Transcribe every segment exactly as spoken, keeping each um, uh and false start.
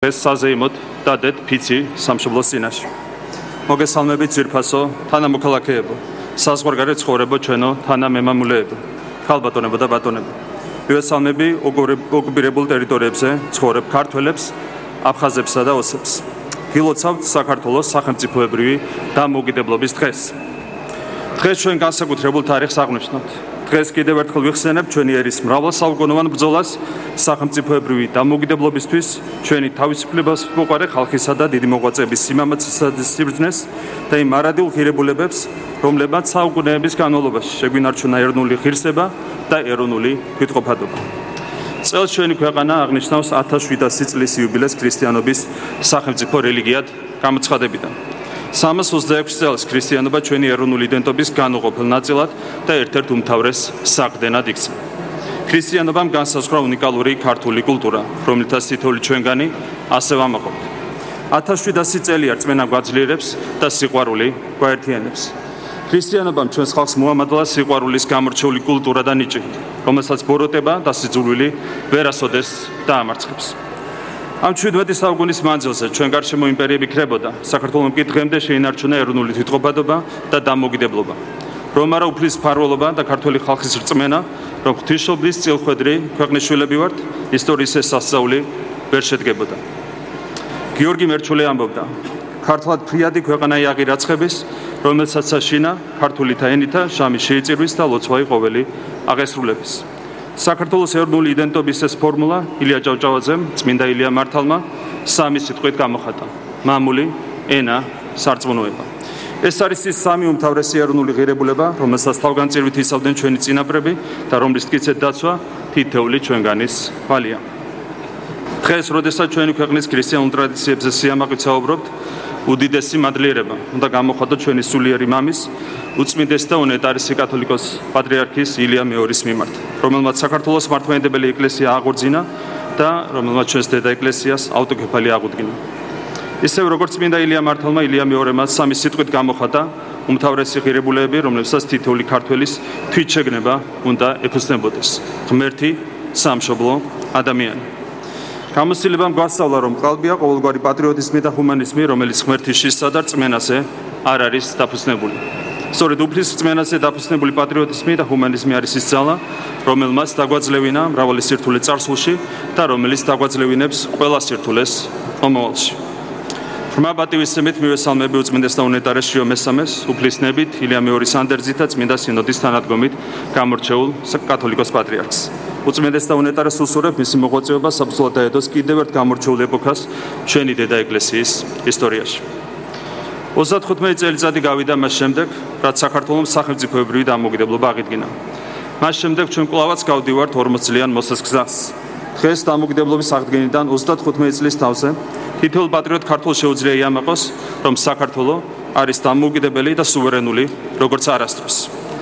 ეს საზეიმოდ დადეთ ფიცი სამშობლოს წინაშე. მოგესალმებით ძვირფასო თანამოქალაქეებო, საზღვარგარეთ ცხოვრებო ჩვენო თანამემამულეებო, ქალბატონებო და ბატონებო. მივესალმები ოკუპირებულ ტერიტორიებზე ცხოვრებ ქართველებს, აფხაზებსა და ოსებს. გილოცავთ საქართველოს სახელმწიფოებრივი დამოუკიდებლობის დღეს. დღეს ჩვენ განსაკუთრებულ თარიღს აღნიშნავთ. დღეს კიდევ ერთხელ ვიხსენებ ჩვენი ერის მრავალსაუკუნოვან ბრძოლას სახელმწიფოებრივი დამოუკიდებლობისთვის, ჩვენი თავისუფლებას მოყარე ხალხისა და დიდი მოღვაწეების სიმამაცისა და სიბრძნეს და იმ მარადილ ღირებულებებს, რომლებმაც საუკუნეების განმავლობაში შეგვინარჩუნა ეროვნული ღირსება და ეროვნული თვითყოფადობა. წელს ჩვენი ქვეყანა აღნიშნავს ათას შვიდასი წლის იუბილეს ქრისტიანობის სახელმწიფო რელიგიად გამოცხადებიდან. სამას ოცდაექვსი წელს ქრისტიანობა ჩვენი ეროვნული იდენტობის განუყოფელ ნაწილად და ერთ-ერთ უმთავრეს საყრდენად იქცა. ქრისტიანობამ განსაზღვრა უნიკალური ქართული კულტურა, რომლითაც თითოეული ჩვენგანი ასე ვამაყობთ. ათას შვიდასი წელი რწმენა გვაძლიერებს და სიყვარული გვაერთიანებს. ქრისტიანობამ ჩვენს ხალხს მოამადლა სიყვარულის გამორჩეული კულტურა და ნიჭი, რომელსაც ბოროტება და სიძულვილი ვერასოდეს დაამარცხებს. ამ ჩვიდმეტი საუკუნის მანძილზე ჩვენ გარშემო იმპერიები ქრებოდა, საქართველომ კი დღემდე შეინარჩუნა ეროვნული თვითყოფადობა და დამოუკიდებლობა. რომ არა უფლის მფარველობა და ქართველი ხალხის რწმენა, რომ ღვთისმშობლის წილხვედრი ქვეყნის შვილები ვართ, ისტორიის ეს სასწაული ვერ შედგებოდა. გიორგი მერჩულე ამბობდა, ქართლად ფრიადი ქვეყანა იაღი რაცხების, რომელსაც საშინა ქართულითა ენითა შამი შეიწირვის და ლოცვაი ყოველი აღესრულების. საქართველოს ეროვნული იდენტობის ეს ფორმულა ილია ჭავჭავაძემ, წმინდა ილია მართალმა სამი სიტყვით გამოხატა: მამული, ენა, სარწმუნოება. ეს არის ის სამი უმთავრესი ეროვნული ღირებულება, რომელსაც თავგანწირვით იცავდნენ ჩვენი წინაპრები და რომლის მტკიცედ დაცვა თითოეული ჩვენგანის ვალია. დღეს, როდესაც ჩვენი ქვეყნის ქრისტიანულ ტრადიციებზე სიამაყით საუბრობთ, უდიდესი მადლიერება უნდა გამოხატოთ ჩვენი სულიერი მამის, უწმინდესი და უნეტარესი კათოლიკოს პატრიარქის ილია მეორის მიმართ, რომელმაც საქართველოს მართლმადიდებელი ეკლესია აღორძინა და რომელმაც ჩვენს დედა ეკლესიას ავტოკეფალი აღუდგინა. ისევ როგორც წმინდა ილია მართალმა, ილია მეორემაც სამი სიტყვით გამოხატა უმთავრესი ღირებულებები, რომლებსაც თითოეული ქართველის თვითშეგნება უნდა ეფუძნებოდეს: ღმერთი, სამშობლო, ადამიანი. გამოცდილებამ გვასწავლა, რომ ყალბია ყოველგვარი პატრიოტიზმი და ჰუმანიზმი, რომელიც ღმერთის შიშსა და რწმენაზე არ არის დაფუძნებული. სწორედ უფლის რწმენაზე დაფუძნებული პატრიოტიზმი და ჰუმანიზმი არის ის ძალა, რომელმაც დაგვაძლევინა მრავალი სირთულე წარსულში და რომელიც დაგვაძლევინებს ყველა სირთულეს მომავალში. ღრმა პატივისცემით მივესალმები უწმინდეს და უნეტარეს შიო მესამეს, უფლისნებით, ილია მეორის ანდერძით და წმინდა სინოდის თანადგომით გამორჩეულ კათოლიკოს პატრიარქს. უწმინდეს და უნეტარეს უსურვებ მისი მოღვაწეობა საბრძოლო დაედოს კიდევ ერთ გამორჩეულ ეპოქას ჩვენი დედა ეკლესიის ისტორიაში. ოცდათხუთმეტი წელიწადი გავიდა მას შემდეგ, რაც საქართველოს სახელმწიფოებრივი დამოუკიდებლობა აღიდგინა. მას შემდეგ ჩვენ კვლავაც გავდივართ ორმოც წლიან მოსას გზას. დღეს დამოუკიდებლობის აღდგენიდან ოცდათხუთმეტი წლის თავზე თითოეულ პატრიოტ ქართველს შეუძლია იამაყოს, რომ საქართველო არის დამოუკიდებელი და სუვერენული, როგორც არასდროს.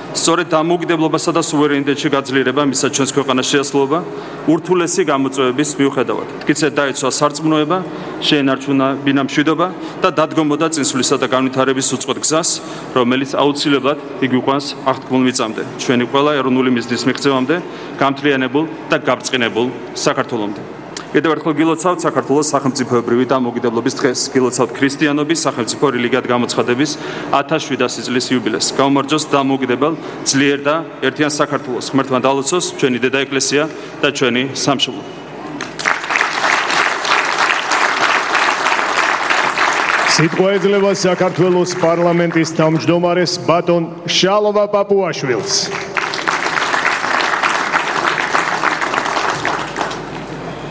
სწორედ დამოუკიდებლობასა და სუვერენიტეტში გაძლიერება მისცა ჩვენს ქვეყანას შეასრულება ურთულესი გამოწვევების მიუხედავად. მტკიცედ დაიცვა სარწმუნოება, შეენარჩუნა ბინამშვიდობა და დადგომოდა წინსვლისა და განვითარების უწყოთ გზას, რომელიც აუცილებლად იგვიყვანს აღთქმულ მიწამდე, ჩვენი ყველა ეროვნული მიზნის მიღწევამდე, გამთლიანებულ და გაბრწყინებულ საქართველომდე. კიდევ ერთხელ გილოცავთ საქართველოს სახელმწიფოებრივი დამოუკიდებლობის დღეს, გილოცავთ ქრისტიანობის სახელმწიფო რელიგიად გამოცხადების ათას შვიდასი წლის იუბილეს. გაუმარჯოს დამოუკიდებელ, ძლიერ და ერთიან საქართველოს. ღმერთმა დალოცოს ჩვენი დედა ეკლესია და ჩვენი სამშობლო. სიტყვა ეძლევა საქართველოს პარლამენტის თავმჯდომარეს ბატონ შალვა პაპუაშვილს.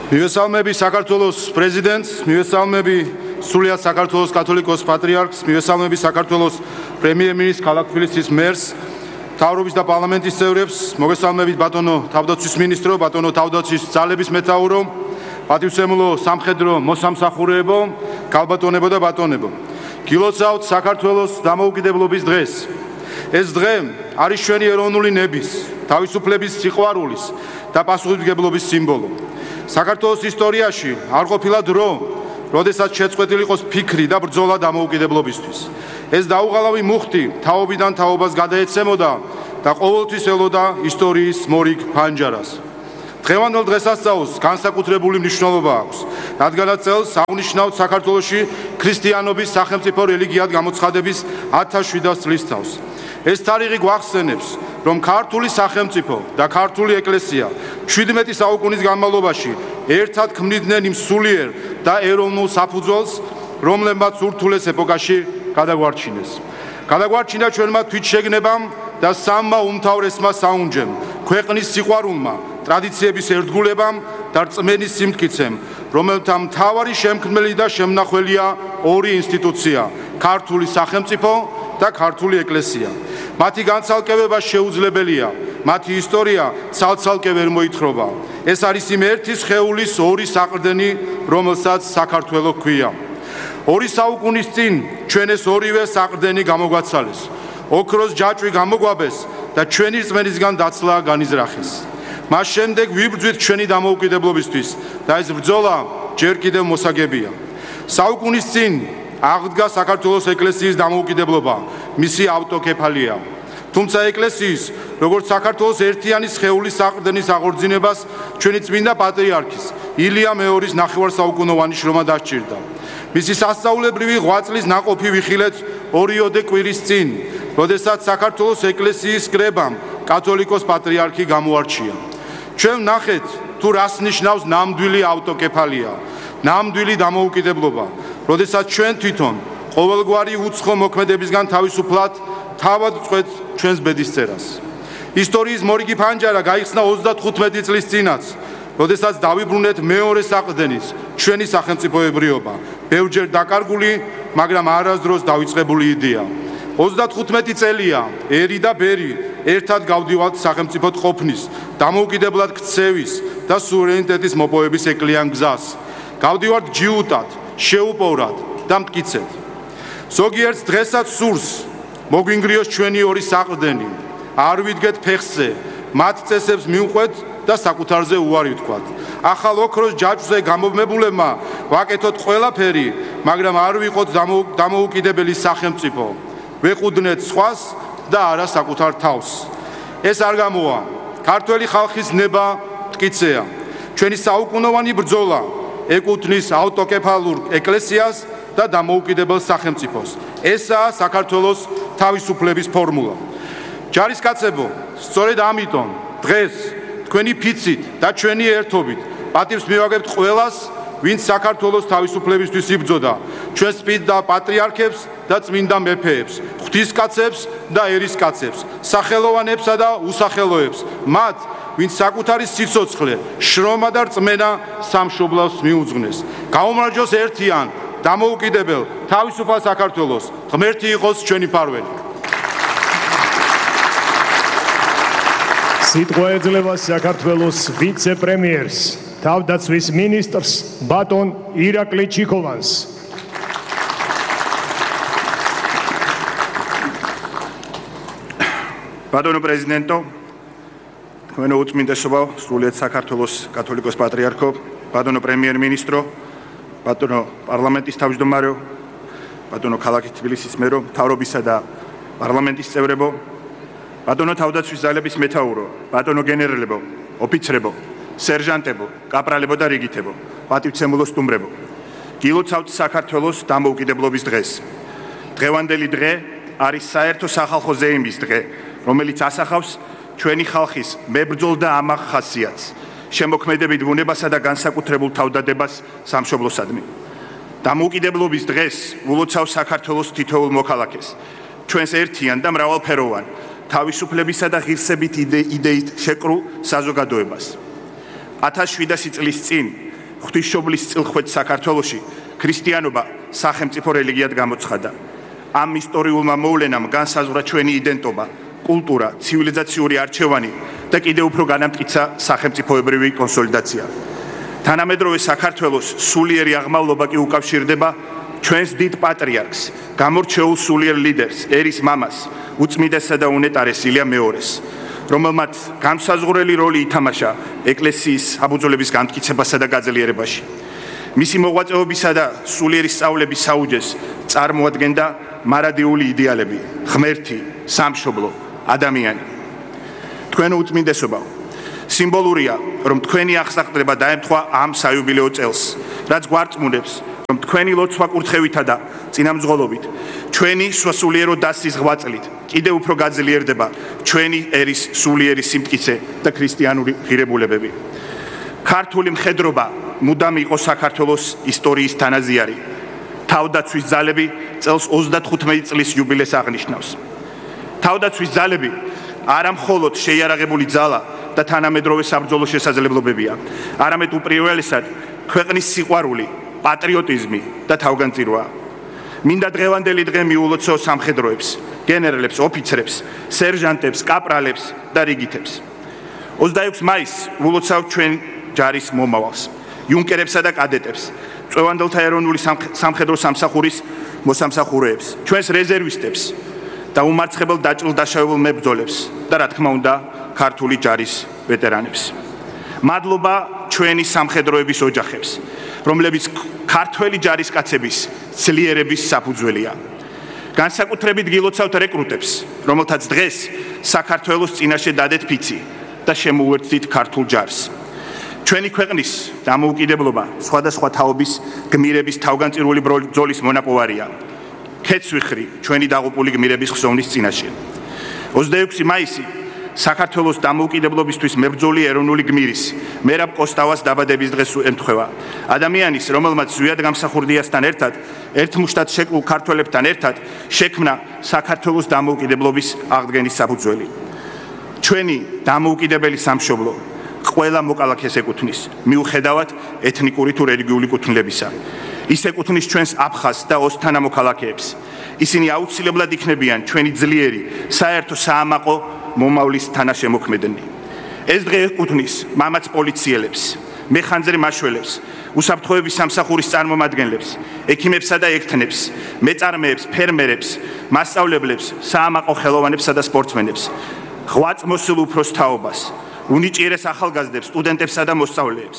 მივესალმები საქართველოს პრეზიდენტს, მივესალმები სრულიად საქართველოს კათოლიკოს პატრიარქს, მივესალმები საქართველოს პრემიერ-მინისტრს, ქალაქთბილისის მერს, მთავრობის და პარლამენტის წევრებს, მოგესალმებით ბატონო თავდაცვის მინისტრო, ბატონო თავდაცვის ძალების მეთაურო, პატივსემულო სამხედრო მოსამსახურეებო, ქალბატონებო და ბატონებო. გილოცავთ საქართველოს დამოუკიდებლობის დღეს. ეს დღე არის ჩვენი ეროვნული ნების, თავისუფლების სიყვარულის და პასუხისმგებლობის სიმბოლო. საქართველოს ისტორიაში არ ყოფილა დრო, როდესაც შეწყვეტილი იყოს ფიქრი და ბრძოლა დამოუკიდებლობისთვის. ეს დაუღალავი მუხტი თაობიდან თაობას გადაეცემოდა და ყოველთვის ელოდა ისტორიის მორიგ ფანჯარას. დღევანდელ დღესასწაულს განსაკუთრებული მნიშვნელობა აქვს, რადგანაც წელს აღნიშნავთ საქართველოში ქრისტიანობის სახელმწიფო რელიგიად გამოცხადების ათას შვიდას წლისთავს. ეს თარიღი გვახსენებს, რომ ქართული სახელმწიფო და ქართული ეკლესია შვიდმეტი საუკუნის განმავლობაში ერთად ქმნიდნენ იმ სულიერ და ეროვნულ საფუძველს, რომლებმაც ურთულეს ეპოქაში გადაგვარჩინეს. გადაგვარჩინა ჩვენმა თვითშეგნებამ და სამმა უმთავრესმა საუნჯემ, ქვეყნის სიყვარულმა, ტრადიციების ერთგულებამ და რწმენის სიმტკიცემ, რომელთა მთავარი შემქმნელი და შემნახველია ორი ინსტიტუცია, ქართული სახელმწიფო და ქართული ეკლესია. მათი განცალკევება შეუძლებელია, მათი ისტორია ცალ-ცალკე ვერ მოითხრობა. ეს არის იმ ერთი სხეულის ორი საყრდენი, რომელსაც საქართველო ჰქვია. ორი საუკუნის წინ ჩვენ ეს ორივე საყრდენი გამოგვაცალეს. ოქროს ჯაჭვი გამოგვაბეს და ჩვენი რწმენისგან დაცლა განიზრახეს. მას შემდეგ ვიბრძვით ჩვენი დამოუკიდებლობისთვის და ეს ბრძოლა ჯერ კიდევ მოსაგებია. საუკუნის წინ აღდგა საქართველოს ეკლესიის დამოუკიდებლობა, მისი ავტოკეფალია. თუმცა ეკლესიის, როგორც საქართველოს ერთიანი სხეულის საყრდენის აღორძინებას ჩვენი წმინდა პატრიარქის ილია მეორის ნახევარსაუკუნოვანი შრომა დასჭირდა. მისი სასწაულებრივი ღვაწლის ნაყოფი ვიხილეთ ორიოდე კვირის წინ, როდესაც საქართველოს ეკლესიის კრებამ კათოლიკოს პატრიარქი გამოარჩია. ჩვენ ვნახეთ თუ რას ნიშნავს ნამდვილი ავტოკეფალია, ნამდვილი დამოუკიდებლობა, როდესაც ჩვენ თვითონ ყოველგვარი უცხო მოქმედებისგან თავისუფლად თავად წვეთ ჩვენს ბედისწერას. ისტორიის მორიგი ფანჯარა გაიხსნა ოცდათხუთმეტი წლის წინაც, როდესაც დავიბრუნეთ მეორე საყრდენის, ჩვენი სახელმწიფოებრიობა, ბევრჯერ დაკარგული, მაგრამ არასდროს დავიწყებული იდეა. ოცდათხუთმეტი წელია, ერი და ბერი ერთად გავდივართ სახელმწიფოდ ყოფნის, დამოუკიდებლად ქცევის და სუვერენიტეტის მოპოვების ეკლიან გზას. გავდივართ ჯიუტად, შეუპოვრად და მტკიცედ. ზოგიერთს დღესაც სურს მოგვინგრიოს ჩვენი ორი საყრდენი, არ ვიდგეთ ფეხზე, მათ წესებს მივყვეთ და საკუთარზე უარი ვთქვათ. ახალ ოქროს ჯაჭვზე გამობმებულებმა ვაკეთოთ ყველაფერი, მაგრამ არ ვიყოთ დამოუკიდებელი სახელმწიფო. ვეყუდნეთ სხვას და არა საკუთარ თავს. ეს არ გამოვა. ქართველი ხალხის ნება მტკიცეა. ჩვენი საუკუნოვანი ბრძოლა ეკუთვნის ავტოკეფალურ ეკლესიას და დამოუკიდებელ სახელმწიფოს. ესაა საქართველოს თავისუფლების ფორმულა. ჯარისკაცებო, სწორედ ამიტომ დღეს თქვენი ფიცით და ჩვენი ერთობით პატივს მივაგებთ ყველას, ვინც საქართველოს თავისუფლებისთვის იბრძოდა, ჩვენ წმინდა პატრიარქებს და წმინდა მეფეებს, ღვთისკაცებს და ერისკაცებს, სახელოვანებსა და უსახელოებს, მათ, ვინც საკუთარი სიცოცხლე, შრომა და რწმენა სამშობლოს მიუძღვნეს. გაუმარჯოს ერთიან, დამოუკიდებელ, თავისუფალ საქართველოს, ღმერთი იყოს ჩვენი ფარველი. სიტყვა ეძლევა საქართველოს ვიცე-პრემიერს, თავდაცვის მინისტრს ბატონ ირაკლი ჩიქოვანს. ბატონო პრეზიდენტო, თქვენო უწმინდესობა, სრულიად საქართველოს კათოლიკოს პატრიარქო, ბატონო პრემიერ-მინისტრო, ბატონო პარლამენტის თავმჯდომარეო, ბატონო ქალაქი თბილისის მერო, მთავრობისა და პარლამენტის წევრებო, ბატონო თავდაცვის ძალების მეთაურო, ბატონო გენერალებო, ოფიცრებო, სერჟანტებო, კაპრალებო და რიგითებო, პატივცემულო სტუმრებო, გილოცავთ საქართველოს დამოუკიდებლობის დღეს. დღევანდელი დღე არის საერთო სახალხო ზეიმის დღე, რომელიც ასახავს ჩვენი ხალხის მებრძოლ და ამაღ ხასიათს, შემოქმედებით ბუნებასა და განსაკუთრებულ თავდადებას სამშობლოსადმი. დამოუკიდებლობის დღეს ულოცავს საქართველოს თითოეულ მოქალაქეს, ჩვენს ერთიან და მრავალფეროვან, თავისუფლებისა და ღირსებით იდეით შეკრულ საზოგადოებას. ათას შვიდასი წლის წინ ღვთისმშობლის წილხვეც საქართველოში ქრისტიანობა სახელმწიფო რელიგიად გამოცხადა. ამ ისტორიულმა მოვლენამ განსაზღვრა ჩვენი იდენტობა, კულტურა, ცივილიზაციური არჩევანი და კიდევ უფრო განამტკიცა სახელმწიფოებრივი კონსოლიდაცია. თანამედროვე საქართველოს სულიერი აღმავლობა კი უკავშირდება ჩვენს დიდ პატრიარქს, გამორჩეულ სულიერ ლიდერს, ერის მამას, უწმიდესსა და უნეტარეს ილია მეორეს, რომელმაც განსაზღვრელი როლი ითამაშა ეკლესიის საბუძვლების განმტკიცებასა და გაძლიერებაში. მისი მოღვაწეობისა და სულიერი სწავლების საუჯეს წარმოადგენდა მარადიული იდეალები, ღმერთი, სამშობლო, ადამიანი. თქვენო უწმინდესობაო, სიმბოლურია, რომ თქვენი აღსაყრდნება დაემთხვა ამ საიუბილეო წელს, რაც გვარწმუნებს, რომ თქვენი ლოცვა კურთხევითა და წინამძღოლობით, ჩვენი სრულიერო დასის ღვაწლით კიდევ უფრო გაძლიერდება ჩვენი ერის სულიერი სიმტკიცე და ქრისტიანული ღირებულებები. ქართული მხედრობა მუდამ იყო საქართველოს ისტორიის თანაზიარი. თავდაცვის ძალები წელს ოცდათხუთმეტი წლის იუბილეს აღნიშნავს. თავდაცვის ძალები არა მხოლოდ შეიარაღებული ძალა და თანამედროვე საბრძოლო შესაძლებლობებია, არამედ უპირველესად ქვეყნის სიყვარული, პატრიოტიზმი და თავგანწირვა. მინდა დღევანდელი დღე მიულოცო სამხედროებს, გენერლებს, ოფიცრებს, სერჟანტებს, კაპრალებს და რიგითებს. ოცდაექვსი მაისს ულოცავ ჩვენ ჯარის მომავალს, იუნკერებსა და კადეტებს, წვევანდელთა ეროვნული სამხედრო სამსახურის მოსამსახურეებს, ჩვენს რეზერვისტებს და უმარცხებელ დაჭრილ-დაშავებულ მებრძოლებს და რა თქმა უნდა, ქართული ჯარის ვეტერანებს. მადლობა ჩვენი სამხედროების ოჯახებს, რომლებიც ქართველი ჯარისკაცების ძლიერების საფუძველია. განსაკუთრებით გილოცავთ რეკრუტებს, რომელთაც დღეს საქართველოს წინაშე დადეთ ფიცი და შემოუერთდით ქართულ ჯარს. ჩვენი ქვეყნის დამოუკიდებლობა სხვადასხვა თაობის გმირების თავგანწირული ბრძოლის მონაპოვარია. ქეცვიხრი ჩვენი დაღუპული გმირების ხსოვნის წინაშე. ოცდაექვსი მაისი საქართველოს დამოუკიდებლობისთვის მებრძოლი ეროვნული გმირის მერაბ კოსტავას დაბადების დღეს ემთხვევა. ადამიანის, რომელმაც ზვიად გამსახურდიასთან ერთად, ერთმუშტად შეკლულ ქართველებთან ერთად შექმნა საქართველოს დამოუკიდებლობის აღდგენის საფუძველი. ჩვენი დამოუკიდებელი სამშობლო ყველა მოკალაქეს ეკუთვნის, მიუხედავად ეთნიკური თუ რელიგიური კუთვნილებისა. ის ეკუთვნის ჩვენს აფხაზს და ოსთანა მოქალაქეებს. ისინი აუცილებლად იქნებიან ჩვენი ძლიერი საერთო საამაყო მომავლის თანაშემოქმედნი. ეს დღე ეკუთვნის მამაც პოლიციელებს, მეხანძრე მაშველებს, უსაფრთხოების სამსახურის წარმომადგენლებს, ექიმებსა და ექთნებს, მეწარმეებს, ფერმერებს, მასწავლებლებს, საამაყო ხელოვანებსა და სპორტსმენებს, ღვაწმოსილ უფროს თაობას, უნიჭიერეს ახალგაზრდებს, სტუდენტებსა და მოსწავლეებს,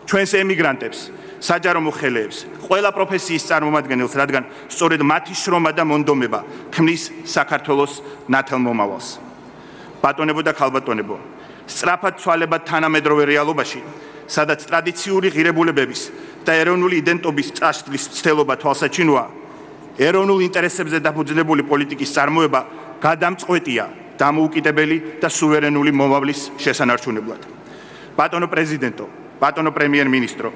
ჩვენს ემიგრანტებს, საჯარო მოხელეებს, ყველა პროფესიის წარმომადგენელს, რადგან სწორედ მათი შრომა და მონდომება ქმნის საქართველოს ნათელ მომავალს. ბატონებო და ქალბატონებო, სწრაფად ცვალებად თანამედროვე რეალობაში, სადაც ტრადიციული ღირებულებების და ეროვნული იდენტობის წაშლის მცდელობა თვალსაჩინოა, ეროვნულ ინტერესებზე დაფუძნებული პოლიტიკის წარმოება გადამწყვეტია დამოუკიდებელი და სუვერენული მომავლის შესანარჩუნებლად. ბატონო პრეზიდენტო, ბატონო პრემიერ-მინისტრო,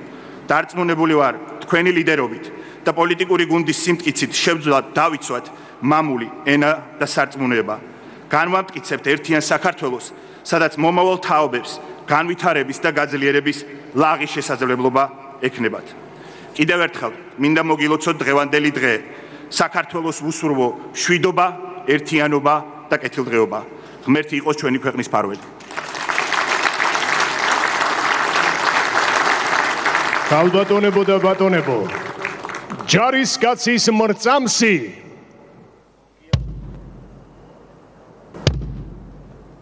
დარწმუნებული ვარ თქვენი ლიდერობით და პოლიტიკური გუნდის სიმტკიცით შევძლოთ დავიცვათ მამული ენა და სარწმუნოება. განვამტკიცებთ ერთიან საქართველოს, სადაც მომავალ თაობებს განვითარების და გაძლიერების ლაღი შესაძლებლობა ექნებათ. კიდევ ერთხელ მინდა მოგილოცოთ დღევანდელი დღე, საქართველოს უსურვო შვიდობა, ერთიანობა და კეთილდღეობა. ღმერთი იყოს ჩვენი ქვეყნის ფარველი. ქალბატონებო და ბატონებო, ჯარისკაცის მრწამსი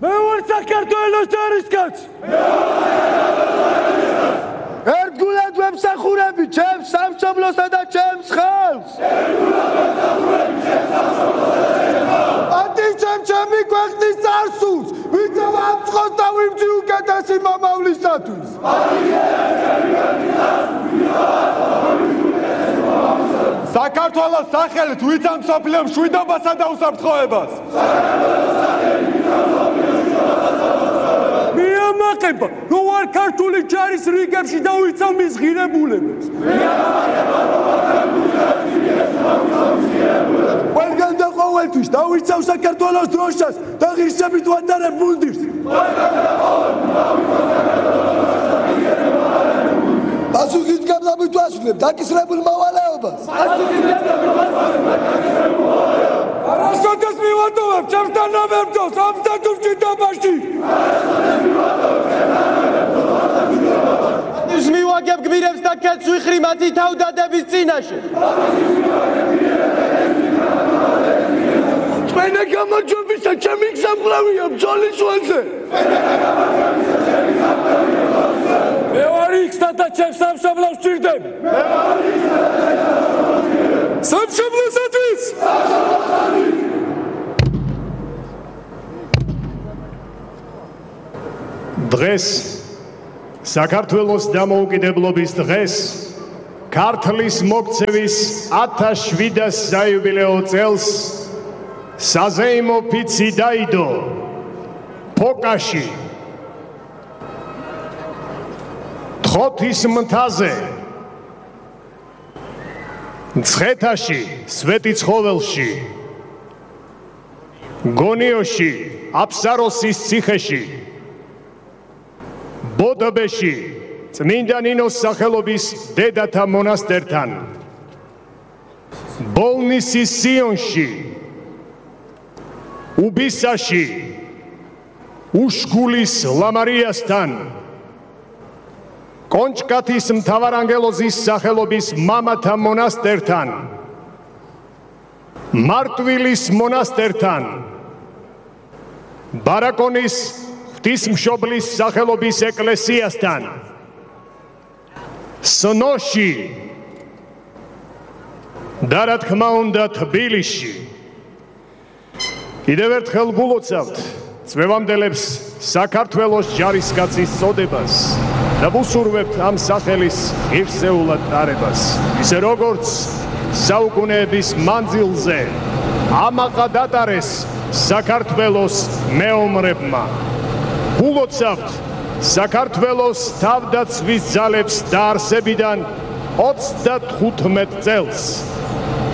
მე ვარ საქართველოს ჯარისკაცი. ერთგულად ვემსახურები ჩემს სამშობლოსა და ჩემს ხალხს. ატიცემ ჩემი ქვეყნის წარსულს, ვინც ამწყოს და ვიმძი უკეთესი მომავლისათვის. საქართველოს სახელით ვინც ამსოფლიო მშვიდობასა და უსაფრთხოებას. მიამაყება, რომ ვარ ქართული ჯარის რიგებში და ვიცავ მის ღირებულებებს. ყველგან და ყოველთვის დავიცავ საქართველოს დროშას და ღირსებით ვატარებ მუნდირს. პასუხის გაბლაბით ვასრულებ დაკისრებულ მოვალეობას. არასოდეს მივატოვებ ჩემს თანამებრძოლს ოცდაათი მჭიდრობაში. ის მივაგებ გმირებს და ქეცვიხრი მათი თავდადების წინაშე. ჩვენი გამარჯვებისა ჩემი გზამკლავია ბრძოლის ველზე. მე ვარ იქსა და ჩემს სამშობლოს ვჭირდები. სამშობლოსათვის. დღეს საქართველოს დამოუკიდებლობის დღეს ქართლის მოქცევის ათასშვიდას საიუბილეო წელს საზეიმო ფიცი დაიდო ფოკაში თხოთის მთაზე მცხეთაში სვეტიცხოველში გონიოში აფსაროსის ციხეში ბოდბეში წმინდა ნინოს სახელობის დედათა მონასტერთან ბოლნისის სიონში უბისაში უშგულის ლამარიასთან კონჭკათის მთავარანგელოზის სახელობის მამათა მონასტერთან მარტვილის მონასტერთან ბარაკონის ღვთისმშობლის სახელობის ეკლესიასთან სნოში და რა თქმა უნდა თბილისში კიდევ ერთხელ გულოცავთ წვევამდელებს საქართველოს ჯარისკაცის წოდებას და ვუსურვებთ ამ სახელის ღირსეულად ტარებას ისე როგორც საუკუნეების მანძილზე ამაყად ატარეს საქართველოს მეომრებმა გულოცავთ საქართველოს თავდაცვის ძალებს დაარსებიდან ოცდათხუთმეტ წელს